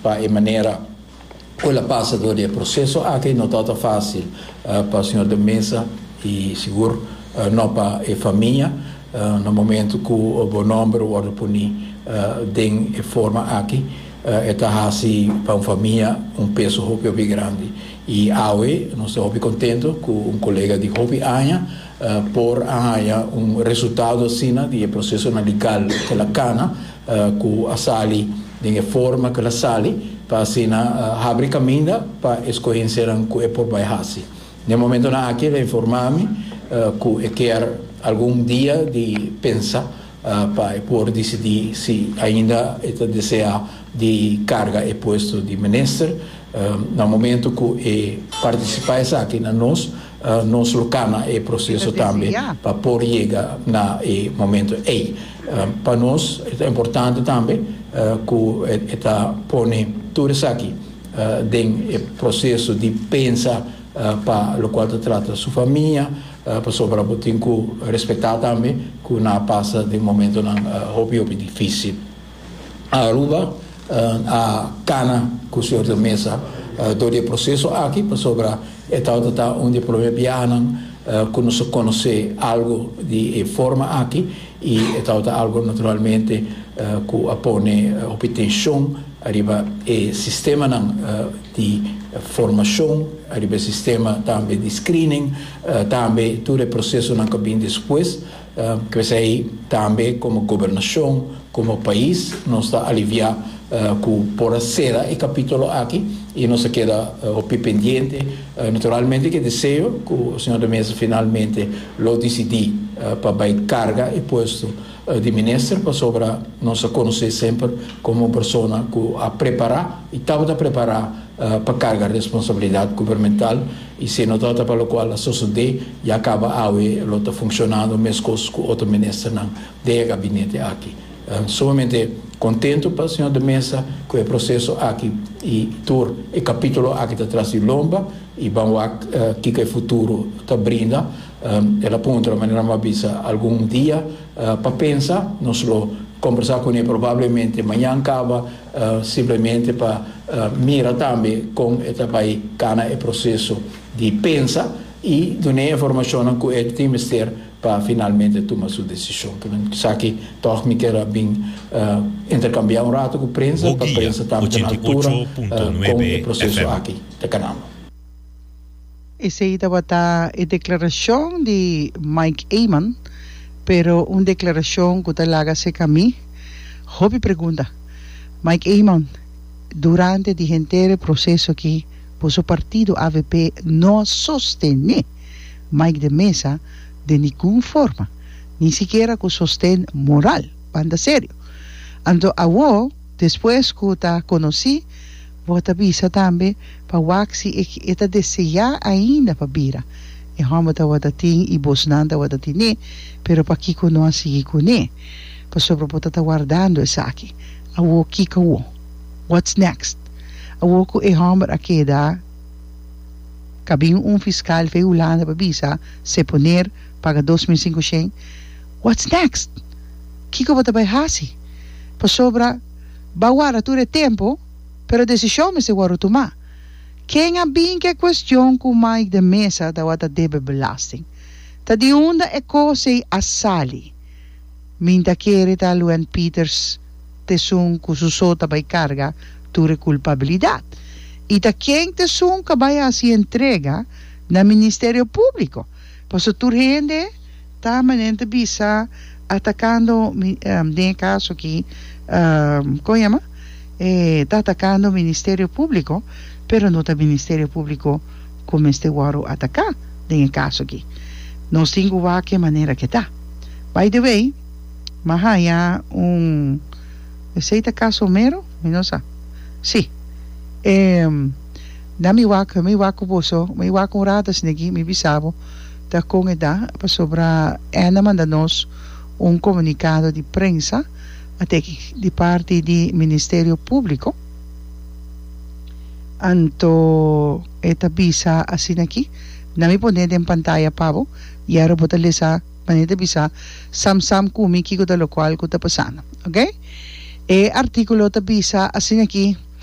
pa e manera ku el a pasa dor di e proseso aki. No tabata fásil pa señor de Meza i sigur no pa e famia. Na momento ku bo nòmber wòrdu poni den e forma aki, e ta hasi pa un famia un peso hopi hopi grandi. I awe nos ta hopi kontento ku un kolega di hopi aña por a haña un resultado asina di e prosesonan legal ku el a kana, ku a sali den e forma ku el a sali, pa asina habri kaminda pa e skohensianan ku e por bai hasi. Den momentonan aki el a informá mi ku e kier algun dia di pensa pa e por disidí si ainda e ta deseá di karga e puesto di minister. Na momento ku e partisipá esaki na nos, nos lo kana e proseso tambe pa por yega na e momento ei. Pa nos e ta importante tambe ku e ta pone tur esaki den e proseso di pensa pa lokual ta trata su famia, pasobra bo tin ku respetá tambe ku nan a pasa den momentonan hopi hopi difísil. Aruba a kana ku señor de Meza dor di e proseso aki pasobra e tabata ta un di e prome biahanan ku nos a konosé algu di e forma aki i e tabata algu naturalmente ku a pone hopi tenshon ariba e sistemanan di formashon, ariba e sistema tambe di screening, tambe tur e prosesonan ku a bin despues. P'esei tambe komo gobernashon, komo pais nos ta aliviá ku por a sera e kapítulo aki i nos a keda hopi pendiente. Naturalmente ku e deseo ku señor de Meza finalmente lo disidí pa bai karga e puesto di minister pasobra nos a konosé semper komo un persona ku a prepará i tabata prepará pa karga responsabilidat gubernamental i si no tabata pa lokual a sosodé ya kaba awe lo ta funshonando meskos ku otro ministernan den e gabinete aki. Sumamente kontentu pa señor de Meza ku e proseso aki i tur e kapitulo aki ta tras di lomba i ban wak kiko e futuro ta brinda. El a puntra manera mi a bisa algun dia pa pensa, nos lo kombersá kuné probablemente mañan kaba simplemente pa mira tambe kon e ta bai kana e proseso di pensa i dun'é e informashonnan ku e tin mester pa finalmente tuma su desishon. Esaki tòg mi kier a bin interkambiá un rato ku prensa pa prensa tambe ta na altura kon e proseso aki ta kanando. Esei tabata e deklarashon di Mike Eman, pero un deklarashon ku ta laga seka mi hopi pregunta. Mike Eman, durante di henter e proseso aki boso partido avp no a sostené Mike de Meza den ningun forma, ni sikiera ku sosten moral, banda serio. Anto awo, despues ku ta konosí, Bo ta bisa tambe pa wak si e e ta deseá ainda pa bira. E hòmber tabata tin i bosnan tabata tin'é, pero pakiko no a sigui kuné? Pasobra bo ta ta wardando esaki. Awor kiko awor? What's next? Awor ku e hòmber a keda kabin un fiskal fei Hulanda pa bisa seponer paga 2500, what's next? Kiko bo ta bai hasi? Pasobra. Ba warda tur e tempu, pero desishon mester wòrdu tumá. Ken a bin ku e kuestion ku Mike de Meza tabata debe belasting? Ta di unda e kos ei a sali? Min ta kere ta Luen Pieters t'esun ku su so ta bai karga tur e kulpabilidat. I ta ken t'esun ku a bai hasi entrega na Ministerio Públiko? Pasobra tur hende. Ta manera ta bisa atakando den e kaso aki kon yama e ta atakando ministerio publico pero no ta ministerio publico ku mester wòrdu ataká den e kaso aki nos tin ku wak e manera ke ta by the way m'a haña un esei ta kaso mero mi no sa si e na mi wak mi wak ku boso mi wak un rato asin'aki mi bisa bo. Ta kon e ta pasobra N a manda nos un komunikado di prensa ateki di parti di Ministerio Públiko. Anto e ta bisa asina aki, Na mi pone den pantaya pa bo i ora bo ta lesa manera ta bisa sam sam ku mi kiko ta lokual ku ta pasando. Oke? E artíkulo ta bisa asina aki.